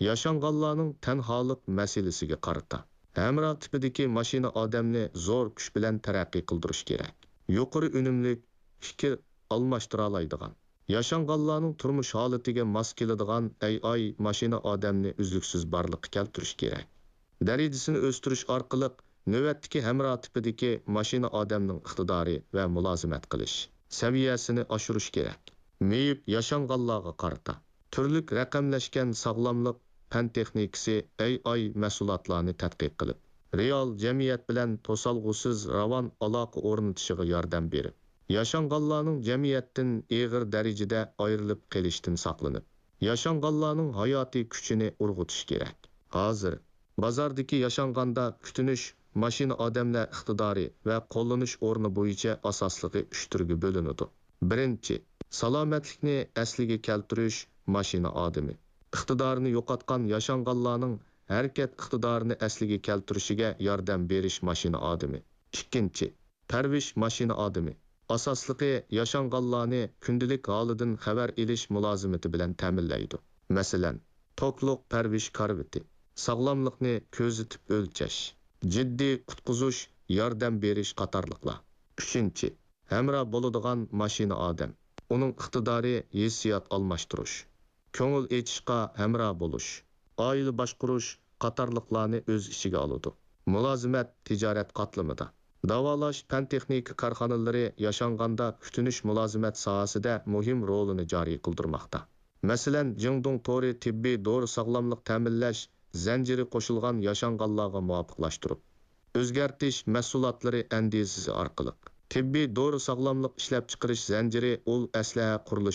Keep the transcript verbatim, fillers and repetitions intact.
ياشانغانلارنىڭ تەنھالىق مەسىلىسىگە قارىتا. ھەمراھ تىپىدىكى ماشىنا ئادەمنى زور كۈچ بىلەن تەرەققىي قىلدۇرۇش كېرەك. يۇقىرى ئۈنۈملۈك پىكىر ئالماشتۇرالايدىغان، ياشانغانلارنىڭ تۇرمۇش ھالىتىگە ماس كېلىدىغان ئەي ئاي ماشىنا ئادەمنى ئۈزلۈكسىز بارلىققا كەلتۈرۈش كېرەك. دەرىجىسىنى ئۆستۈرۈش ئارقىلىق نۆۋەتتىكى ھەمراھ تىپىدىكى ماشىنا ئادەمنىڭ ئىقتىدارى ۋە مۇلازىمەت قىلىش سەۋىيەسىنى ئاشۇرۇش كېرەك. مېيىپ ياشانغانلارغا قارىتا. تۈرلۈك رەقەملەشكەن ساغلاملىق پەن تېخنىكىسى ئەي ئاي مەھسۇلاتلارنى تەتقىق قىلىپ، رېئال جەمئىيەت بىلەن توسالغۇسىز راۋان ئالاقە ئورنىتىشىغا ياردەم بېرىپ، ياشانغانلارنىڭ جەمئىيەتتىن ئېغىر دەرىجىدە ئايرىلىپ قېلىشتىن ساقلىنىپ، ياشانغانلارنىڭ ھاياتىي كۈچىنى ئۇرغۇتۇش كېرەك. ھازىر بازاردىكى ياشانغاندا كۈتۈنۈش ماشىنا ئادەملەر ئىقتىدارى ۋە قوللىنىش ئورنى بويىچە ئاساسلىقى ئۈچ تۈرگە بۆلۈنىدۇ. بىرىنچى، سالامەتلىكنى ئەسلىگە كەلتۈرۈش ماشىنا ئادىمى. ئىقتىدارىنى يوقاتقان ياشانغانلارنىڭ ھەرىكەت ئىقتىدارىنى ئەسلىگە كەلتۈرۈشىگە ياردەم بېرىش ماشىنا ئادىمى. ئىككىنچى، پەرۋىش ماشىنا ئادىمى. ئاساسلىقى ياشانغانلارنى كۈندىلىك ھالىدىن خەۋەر ئېلىش مۇلازىمىتى بىلەن تەمىنلەيدۇ. مەسىلەن، توكلۇق پەرۋىش كارىۋىتى، ساغلاملىقنى كۆزىتىپ ئۆلچەش، جىددىي قۇتقۇزۇش، ياردەم بېرىش قاتارلىقلار. ئۈچىنچى، ھەمراھ بولىدىغان ماشىنا ئادەم. ئۇنىڭ ئىقتىدارى ھېسسىيات ئالماشتۇرۇش، كۆڭۈل ئېچىشقا ھەمراھ بولۇش، ئائىلە باشقۇرۇش قاتارلىقلارنى ئۆز ئىچىگە ئالىدۇ. مۇلازىمەت تىجارەت قاتلىمىدا. داۋالاش پەن-تېخنىكا كارخانىلىرى ياشانغاندا كۈتۈنۈش مۇلازىمەت ساھەسىدە مۇھىم رولىنى جارى قىلدۇرماقتا. مەسىلەن، جىڭدۇڭ تورى تېببىي دورا ساغلاملىق تەمىنلەش زەنجىرى قوشۇلغان ياشانغانلارغا مۇۋاپىقلاشتۇرۇپ، ئۆزگەرتىش مەھسۇلاتلىرى ئەندىزىسى ئارقىلىق، تېببىي دورا ساغلاملىق ئىشلەپچىقىرىش زەنجىرى ئۇل ئەسلىھە قۇرۇلۇشى